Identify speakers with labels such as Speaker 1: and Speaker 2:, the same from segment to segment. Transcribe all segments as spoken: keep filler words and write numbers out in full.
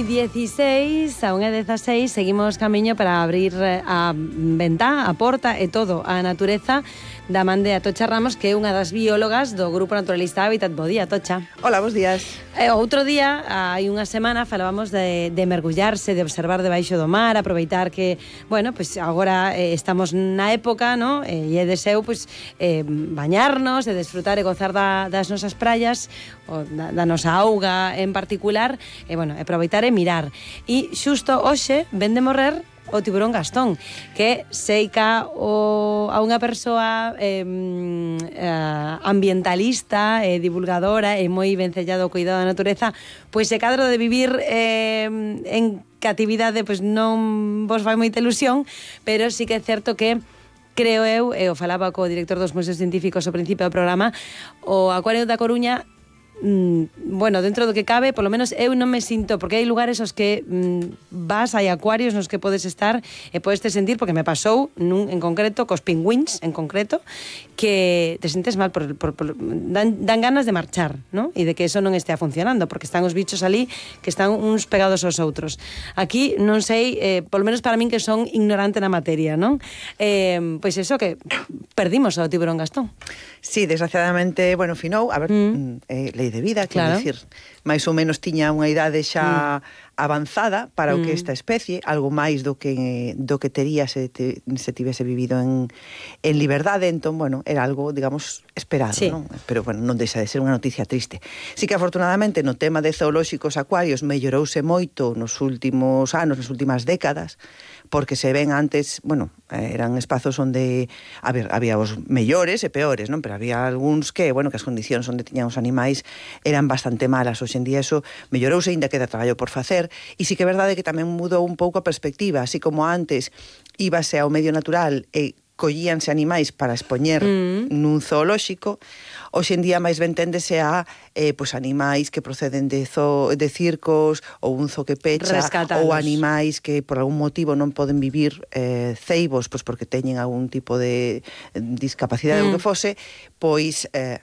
Speaker 1: e dieciséis, a unha e dezaseis, seguimos camiño para abrir a ventá, a porta e todo a natureza da man de Atocha Ramos, que é unha das biólogas do Grupo Naturalista Hábitat. Bo día, Atocha.
Speaker 2: Hola, bos días.
Speaker 1: E outro día, hai unha semana, falábamos de, de mergullarse, de observar debaixo do mar, aproveitar que, bueno, pues agora eh, estamos na época, no? E é deseo, pues, eh, bañarnos, de desfrutar e gozar da, das nosas praias, o da, da nosa auga en particular, e, bueno, aproveitar e mirar. E xusto hoxe ven de morrer o tiburón Gastón, que seica o, a unha persoa eh, eh, ambientalista e eh, divulgadora e moi vencellado ao cuidado da natureza, pois se cadro de vivir eh, en catividade, pois non vos vai moita ilusión, pero sí que é certo que creo eu, e o falaba co director dos museos científicos ao principio do programa, o Acuario da Coruña, mm, bueno, dentro do que cabe, polo menos eu non me sinto, porque hai lugares aos que mm, vas, hai acuarios nos que podes estar e podes te sentir, porque me pasou nun, en concreto, cos pingüins en concreto, que te sientes mal, por, por, por, dan, dan ganas de marchar, ¿no? E de que eso non estea funcionando, porque están os bichos ali que están uns pegados aos outros. Aquí non sei, eh, polo menos para min que son ignorante na materia, non? Eh, pois eso, que perdimos ao tiburón Gastón.
Speaker 2: Sí, desgraciadamente, bueno, finou, a ver, mm. eh, lei de vida,
Speaker 1: claro.
Speaker 2: Quero dicir, máis ou menos tiña unha idade xa mm. avanzada para o que esta especie, algo máis do que do que tería se, te, se tivese vivido en, en liberdade, entón, bueno, era algo, digamos, esperado, sí. Non? Pero, bueno, non deixa de ser unha noticia triste. Sí que, afortunadamente, no tema de zoolóxicos acuarios mellorouse moito nos últimos anos, nas últimas décadas, porque se ven antes, bueno, eran espazos onde, a ver, había os mellores e peores, non? Pero había algúns que, bueno, que as condicións onde tiñan os animais eran bastante malas. Hoxe en día eso mellorouse, ainda queda traballo por facer, e sí que é verdade que tamén mudou un pouco a perspectiva, así como antes íbase ao medio natural e collíanse animais para expoñer mm. nun zoolóxico, hoxe en día máis ben téndese a eh, pues, animais que proceden de, zo, de circos ou un zoo que pecha,
Speaker 1: rescatados,
Speaker 2: ou animais que por algún motivo non poden vivir eh, ceibos, pues, porque teñen algún tipo de discapacidade mm. ou que fose, pois eh,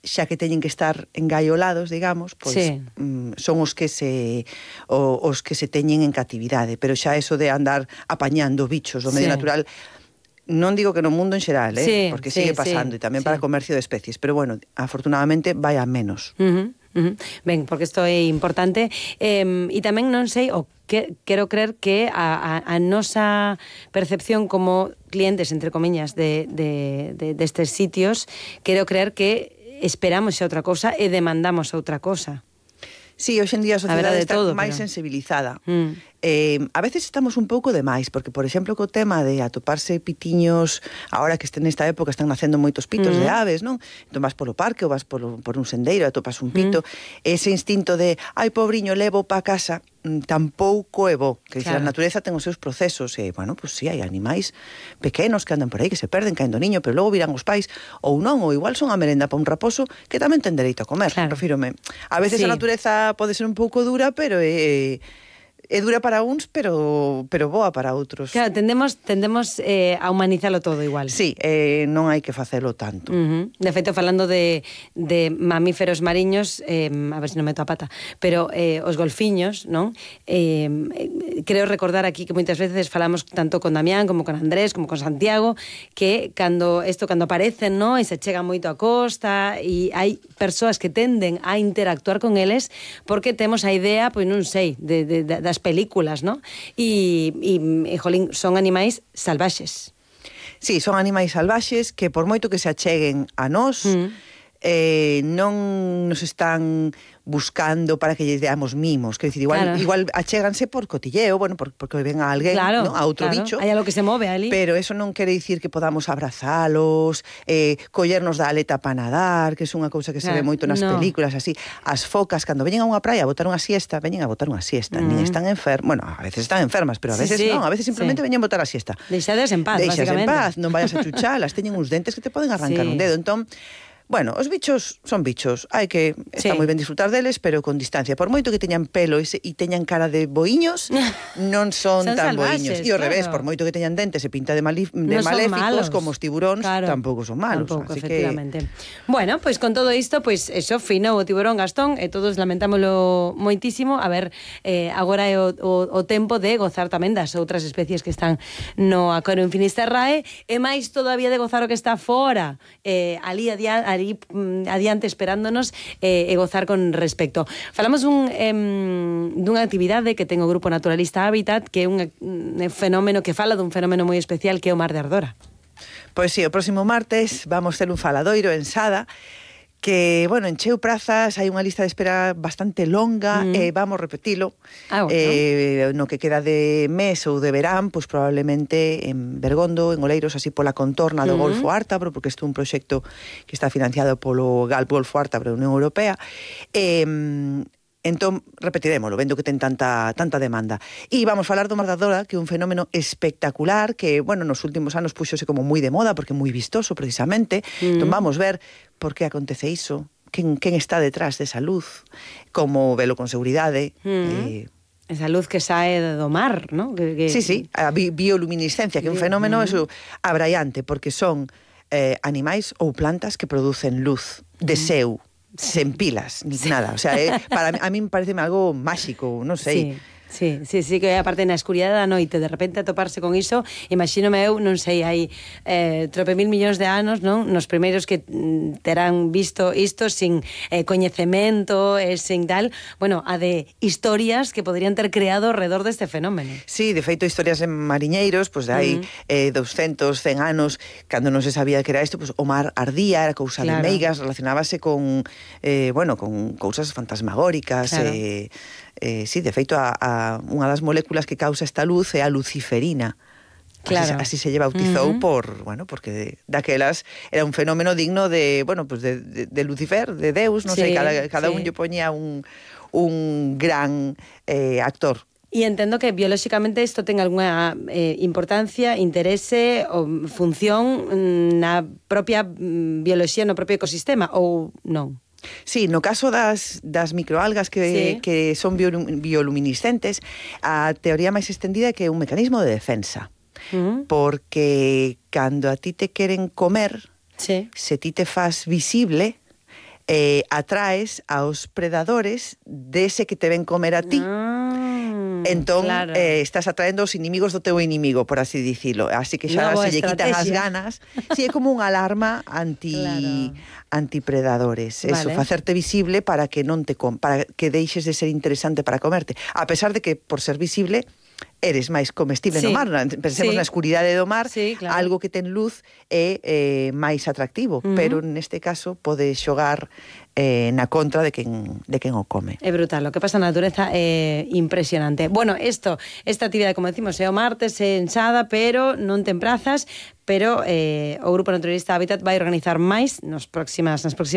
Speaker 2: xa que teñen que estar engaiolados, digamos, pois sí. mm, son os que se o, os que se teñen en catividade, pero xa eso de andar apañando bichos do medio sí. natural, non digo que no mundo en xeral, eh?
Speaker 1: Sí,
Speaker 2: porque
Speaker 1: sí,
Speaker 2: sigue pasando,
Speaker 1: sí,
Speaker 2: e tamén
Speaker 1: sí.
Speaker 2: para comercio de especies, pero bueno, afortunadamente vai a menos.
Speaker 1: Uh-huh, uh-huh. Ben, porque isto é importante, eh, e tamén non sei, o que quero creer que a, a, a nosa percepción como clientes, entre comillas, de, de, de, destes sitios, quero creer que esperamos xa outra cosa e demandamos outra cosa.
Speaker 2: Sí, hoxe en día a sociedade
Speaker 1: a
Speaker 2: está
Speaker 1: todo,
Speaker 2: máis
Speaker 1: pero...
Speaker 2: sensibilizada.
Speaker 1: Mm.
Speaker 2: Eh, a veces estamos un pouco de máis, porque, por exemplo, co tema de atoparse pitiños, ahora que este, nesta época están nacendo moitos pitos mm. de aves, non? Entón vas polo parque ou vas polo, por un sendeiro e atopas un pito, mm. ese instinto de, ai, pobriño, levo pa casa, tampouco é bo. Que claro. A natureza ten os seus procesos e, bueno, pues sí, hai animais pequenos que andan por aí, que se perden caendo niño, pero logo virán os pais, ou non, ou igual son a merenda para un raposo que tamén ten dereito a comer. Claro. Refírome. A veces sí. A natureza pode ser un pouco dura, pero é... é dura para uns, pero pero boa para outros.
Speaker 1: Claro, tendemos tendemos eh, a humanizalo todo igual.
Speaker 2: Sí, eh, non hai que facelo tanto.
Speaker 1: Uh-huh. De feito, falando de, de mamíferos mariños, eh, a ver se non meto a pata, pero eh, os golfiños, non? Eh, creo recordar aquí que moitas veces falamos tanto con Damián como con Andrés, como con Santiago, que cando isto cando aparecen, non? E se chegan moito a costa e hai persoas que tenden a interactuar con eles porque temos a idea, pois non sei, de, de, de, das películas, ¿no? E, e, e jolín, son animais salvaxes.
Speaker 2: Sí, son animais salvaxes que por moito que se acheguen a nós, mm. eh, non nos están buscando para que lles deamos mimos, que decir, igual, claro. igual achéganse por cotilleo, bueno, por, porque ven a alguén,
Speaker 1: claro,
Speaker 2: ¿no? A outro
Speaker 1: claro.
Speaker 2: bicho.
Speaker 1: Hai algo que se move ali.
Speaker 2: Pero eso non quere dicir que podamos abrazalos, eh, collernos da aleta para nadar, que é unha cousa que claro. Se ve moito nas no. películas, así. As focas, cando veñen a unha praia a botar unha siesta, veñen a botar unha siesta, mm. nin están enfermas, bueno, a veces están enfermas, pero a veces sí, sí. non, a veces simplemente sí. veñen a botar a siesta.
Speaker 1: Deixades en paz,
Speaker 2: Deixades
Speaker 1: básicamente.
Speaker 2: en paz, non vayas a chuchalas, teñen uns dentes que te poden arrancar sí. un dedo, entón Bueno, os bichos son bichos, hai que está
Speaker 1: Sí.
Speaker 2: moi ben disfrutar deles, pero con distancia. Por moito que teñan pelo e, se, e teñan cara de boiños, non son,
Speaker 1: Son
Speaker 2: tan
Speaker 1: salvaxes,
Speaker 2: boiños. E ao
Speaker 1: claro.
Speaker 2: revés, por moito que teñan dentes e pinta de, mali, de
Speaker 1: Non son
Speaker 2: maléficos,
Speaker 1: malos.
Speaker 2: como os tiburóns,
Speaker 1: Claro.
Speaker 2: tampouco son malos.
Speaker 1: Tampouco,
Speaker 2: así
Speaker 1: efectivamente.
Speaker 2: que...
Speaker 1: Bueno, pois pues con todo isto, pois pues eso, finou o tiburón Gastón e todos lamentámolo moitísimo. A ver, eh, agora é o, o, o tempo de gozar tamén das outras especies que están no Aquario en Finisterrae e máis todavía de gozar o que está fora, eh, ali, adia, ali mm, adiante esperándonos eh, e gozar con respecto. Falamos dun, eh, dunha actividade que ten o Grupo Naturalista Hábitat, que é un, un fenómeno que fala dun fenómeno moi especial que é o Mar de Ardora.
Speaker 2: Pois sí, o próximo martes vamos ter un faladoiro en Sada que, bueno, encheu prazas, hai unha lista de espera bastante longa mm. e vamos repetilo.
Speaker 1: Ah, bueno.
Speaker 2: eh, no que queda de mes ou de verán, pois probablemente en Bergondo, en Oleiros, así pola contorna do mm. Golfo Ártabro, porque isto é un proxecto que está financiado polo Golfo Ártabro da Unión Europea. E... Eh, Entón, repetirémolo, vendo que ten tanta tanta demanda. E vamos falar do Mar de Ardora, que é un fenómeno espectacular, que, bueno, nos últimos anos puxose como moi de moda, porque é moi vistoso, precisamente. Mm. Entón, vamos ver por que acontece iso, quen, quen está detrás desa luz, como velo con seguridade.
Speaker 1: Mm.
Speaker 2: Eh,
Speaker 1: Esa luz que sae do mar, ¿no? Que, que...
Speaker 2: Sí, sí, a bi bioluminiscencia, que é un fenómeno mm. eso, abraiante, porque son eh, animais ou plantas que producen luz de seu, sen pilas, ni sí. nada. O sea, eh, para mí, a mí me parece algo máxico, non sei.
Speaker 1: Sí. Sí, sí, sí, que aparte na escuridade da noite de repente atoparse con iso, imagínome eu, non sei, hai eh, trope mil millóns de anos, non? Nos primeiros que mm, terán visto isto sin eh, coñecemento e eh, sin tal, bueno, a de historias que poderían ter creado alrededor deste fenómeno.
Speaker 2: Sí, de feito, historias en mariñeiros, pois pues, hai mm. eh, doscientos, cen anos, cando non se sabía que era isto, pues, o mar ardía, era cousa claro. de meigas, relacionábase con, eh, bueno, con cousas fantasmagóricas, claro. eh, Eh, sí, de feito, a, a, unha das moléculas que causa esta luz é a luciferina.
Speaker 1: Claro.
Speaker 2: Así, así se lle bautizou uh-huh. por, bueno, porque daquelas era un fenómeno digno de, bueno, pues de, de, de Lucifer, de Deus, non sí, sei, cada, cada sí. un lle poñía un, un gran eh, actor.
Speaker 1: E entendo que biolóxicamente isto ten algunha eh, importancia, interese ou función na propia bioloxía, no propio ecosistema, ou non?
Speaker 2: Sí, no caso das, das microalgas que, sí. que son bioluminiscentes, a teoría máis extendida é que é un mecanismo de defensa. Uh-huh. Porque cando a ti te queren comer, sí. se ti te faz visible, eh, atraes aos predadores dese que te ven comer a ti. Ah. Entón, claro. eh, estás atraendo os inimigos do teu inimigo, por así dicilo. Así que xa se lle quitan as ganas. Si, sí, é como unha alarma anti claro. antipredadores. Vale. Eso, facerte visible para que non te com para que deixes de ser interesante para comerte. A pesar de que, por ser visible, eres máis comestible sí. no mar. Pensemos sí. na escuridade do mar, sí, claro. algo que ten luz é eh, máis atractivo, uh-huh. pero neste caso pode xogar eh, na contra de quen, de quen o come.
Speaker 1: É brutal, o que pasa na natureza é impresionante. Bueno, esto, esta actividade, como decimos, é o martes en Sada, pero non ten prazas, pero eh, o Grupo Naturalista Hábitat vai organizar máis nos próximas, nas próximas